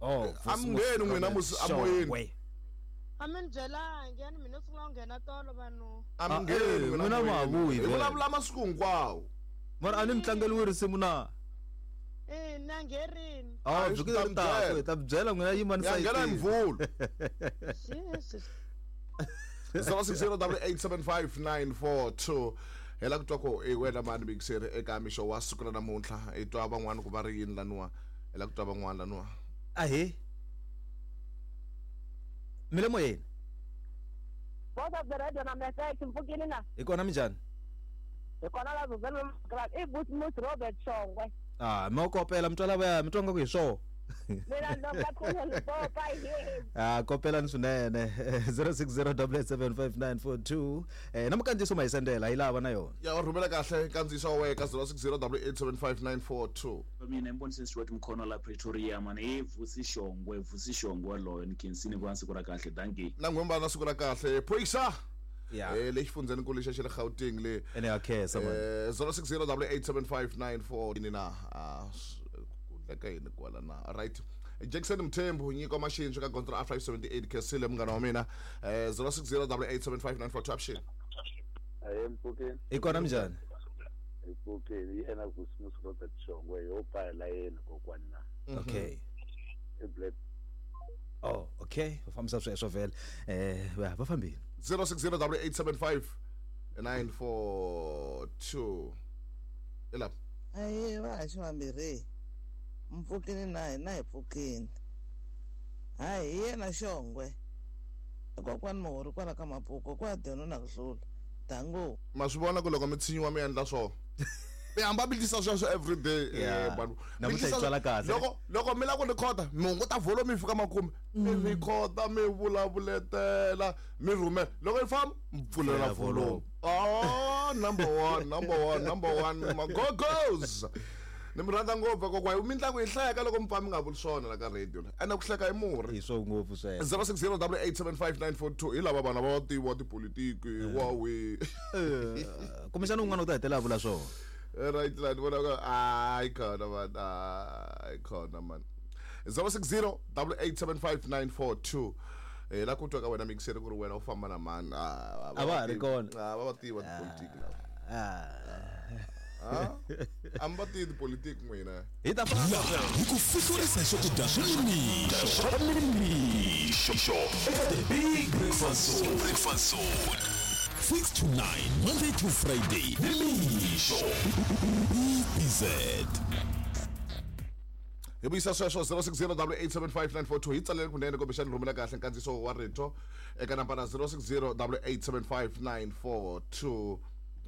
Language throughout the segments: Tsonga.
Oh, A mi ngheni n'wina musi amoyeni. A mi ni byelangi yani mina sungula ku nghena tolo vanhu. A mi Ah, ngheni eh, n'wina ma ha vuyi Hi vhele. vulavula masiku hinkwawo. Mara a ni mi tlangeliwi risimu na? Eh, na ngherini. Ah, A hi vhiki swi ta leri mi taka byela. hi ta mi byela n'wina yimani Ya nghena hi sayitini. Mvhulu. Jesus. 0608875942 hi la ku twa ku i wena mani mikiseri eka mixo wa siku ra namuntlha hi twa van'wana ku va ri yini laniwa hi la ku twa van'wana laniwa Ahee. Mi le moyeni? Voice of the radio na message mpfukini na Hi kona minjhani? hi kona la zuzeni i Busmus Robert Shongwe Ah, mi kopela mi twa lavaya mi twa nga ku hi swoho. mina ndonga khulu lipopa hi Ah, kopelani swinene 0608875942 eh na mukandziyiso ma hi sendela hi lava na yona. Ya u rhumela kahle nkandziyiso wa wena ka 0608875942 Mina i Mbonise Stuart Mkhono la Pretoria mani i Vusi Shongwe Vusi Shongwe loyo ni khensini ku va siku ra kahle dankie na n'wimba na siku ra kahle phoyisa Yeah. eh le xifundzhenikulu lexa xa le Gauteng le Ene ya khensa man. eh 0608875942 ni na ah, ku endleka yini kwala na right Jackson Mthembu nyiko maxintsho ka gondzo ra 578 Khensile munghana wa mina eh 0608875942 option Aye mpfukeni Hi kona minjhani? hi pfukeni hi yena Vusimusi Robert Shongwe yo pa layeni kokwani na Okay. i black Oh, okay. Va fambisa sweswo vhele. Eh, va va fambile. 0608875942 ilapha Aye va ha xivambirhi mpfukini na hina hi pfukini hayi hi yena Xongwe kokwani Muhori kwala ka Mapuko kwa dyona na ku hlula dango ma swi vona ku loko mi tshinyiwa mi endla swona mi hamba mi tisa sweswo everyday Yeah. eh, vanhu. Mi Namuntlha hi tisa- twala kahle. loko loko mi lava ku rhikhoda mi hunguta volume yi fika makume mi rhikhoda mi vulavuletela mi rhumela loko yi famba mi pfulela Pfulela volume volume. oh number one number one number one magogos ni mi rhandza ngopfu kokwa mitlangu yi hleka loko mi pfa mi nga vuli swona la ka radio la ene ku hleka i murhi Hi swo ngopfu sweswo. 0608875942 hi lava vanhu va tiviwa tipolitiki wawe Eh, kumbexana un'wana u ta hetelela a vula swona. Right la ni vona ku hayi khona man hayi khona man 0608875942 eh la ku twa ka wena mixer ku ri wena u famba na mani A va ha ri kona. Ah, va va tiva tipolitiki lava Ah. Ah, a mi va tivi tipolitiki n'wina Hi ta famba sweswo. Hi ku fihlurisa swakudya swa nimixo swa nimixo eka the big breakfast zone breakfast zone 6 to 9 Monday to Friday nimixo BZ hi vuyisa sweswo 0608875942 hi tsalele kunene kumbexani rhumela kahle nkandziyiso wa rito eka nambara 0608875942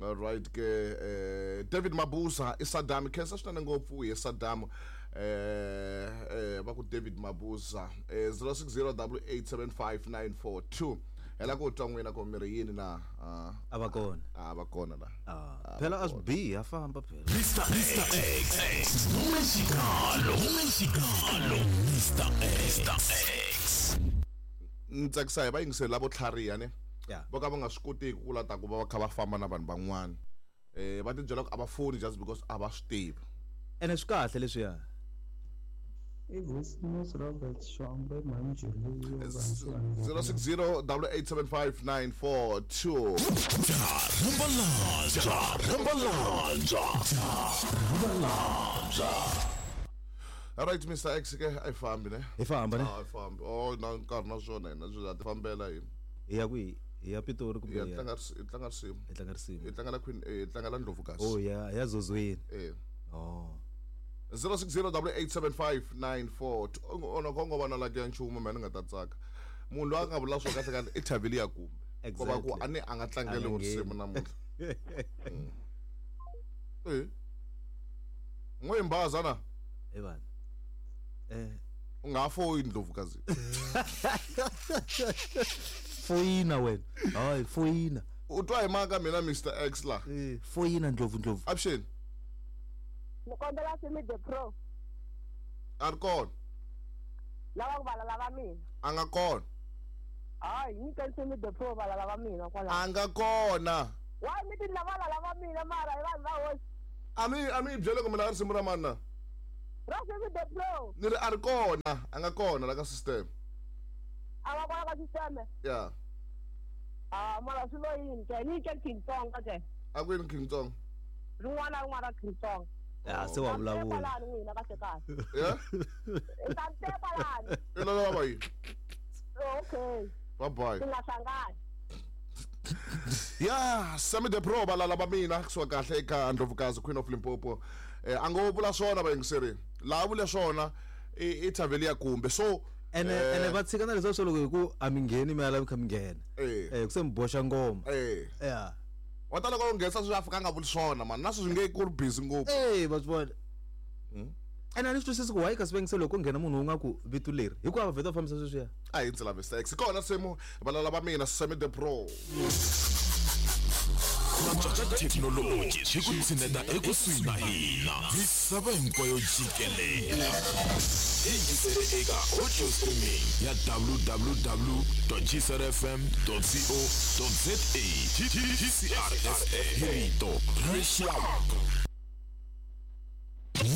alright ke eh, David Mabuza i Saddam khensa swinene ngopfu hi Saddam eh eh va ku David Mabuza eh 0608875942 hela ku twa n'wina ku mi ri yini na ah, A va kona. a va kona la Ah, phela a swi bihi a famba phela. Mr X Mexicano Mexicano Mr X Mr X ni tsakisa hi vayingiseri lavo tlhariha ne Yeah. vo ka va nga swi kotiki ku la ta ku va va kha va famba na vanhu van'wana eh va tibyela ku a va foni just because a va swi tivi Ene swi kahle leswiya. I Vusimusi Robert Shongwe Manjuluyo 0608875942 Rambalanja Rambalanja Rambalanja alright Mr X ke a yi fambi ne Hi famba ne. a yi fambi oh na nkarhi na swona hina swi ta ti fambela hi Hi ya kwihi? Hi ya Pitori kumbe hi ya hi ya tlanga hi tlanga risimu hi tlanga risimu. hi tlanga la Queen eh, hi tlanga la Ndlovukazi Oh ya ya Zozweni. eh Oh. 0608875942 ona ko ngo vana la ya nchumu mina ni nga ta tsaka munhu loyi a nga vula swo kahle kahle i thavile ya kumbe ko va ku Exactly. a ni a nga tlangeli A nga risimu ngheni. namuntlha eh n'we mbaza na Hi vanhu. Eh, u nga ha foyi Ndlovukazi foyina wena. Hayi foyina. u twa hi maka mina Mr X la Eh, foyina Ndlovu Ndlovu. option ni kombela Simi the Pro a ri kona lava ku valala va mina a nga kona hayi nyikeni Simi the Pro valala va mina kwalaho a nga kona why mi ti la valala va mina mara hi vanhu va hosi a mi a mi yi byele ku mi lava risimu ra mani na Ra Sammy the Pro. Ni ri a ri kona, a nga kona la ka system. A nga kona ka system. Ya. Ah, mara swi lo yini ke? Ni ke King Tsonga ke. A ku yini King Tsonga? Rin'wana na rin'wana ra King Tsonga. Ya se wa vulavula. Kwalani n'wina kahle kahle. Ya? Ta mi teka kwalani. I lava va yini? Okay. Bye bye. Ti nga hlangani. Ya, Sammy the Pro valala va mina kusuka kahle eka Ndlovukazi Queen of Limpopo. A ngo vula swona vayingiseri. Laha vule swona i thaveli ya kumbe. So Ene va tshika na leswiya swo loko hi ku a mi ngheni mi ala mi kha mi nghena. Ku se mi boxa ngoma. Ya. Wa tala ku nghenisa swi Afrika a nga vuli swona man, na sweswi nge ku ri busy ngopfu. Va swi vona. Ene a ni swi twisisi ku why kasi vayingiseri loko ko nghena munhu wu nga ku vito leri hikuva va vheta va fambisa sweswiya. A hi ndzi lave sex. Kona nsimu valala va mina Sammy the Pro. Thekinoloji swi ku tshineta ekusuhi na hina misava hinkwayo jikelele. Yingisele eka audio streaming ya www.gcrfm.co.za. GCRFM hi rito ra rixaka.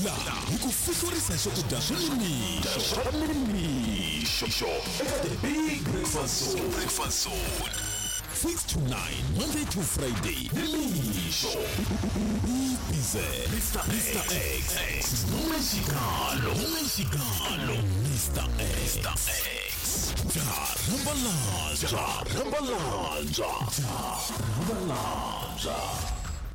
Laha hi ku fihlurisa swakudya swa nimixo swa nimixo eka The Big Breakfast Zone. Breakfast Zone. 6 to 9, Monday to Friday. Nimixo. Bize. Mr. X. Mexicano. Mexicano. Mr. X. Mr. X. Ja, Rambalanja. Rambalanja. Ja, Rambalanja.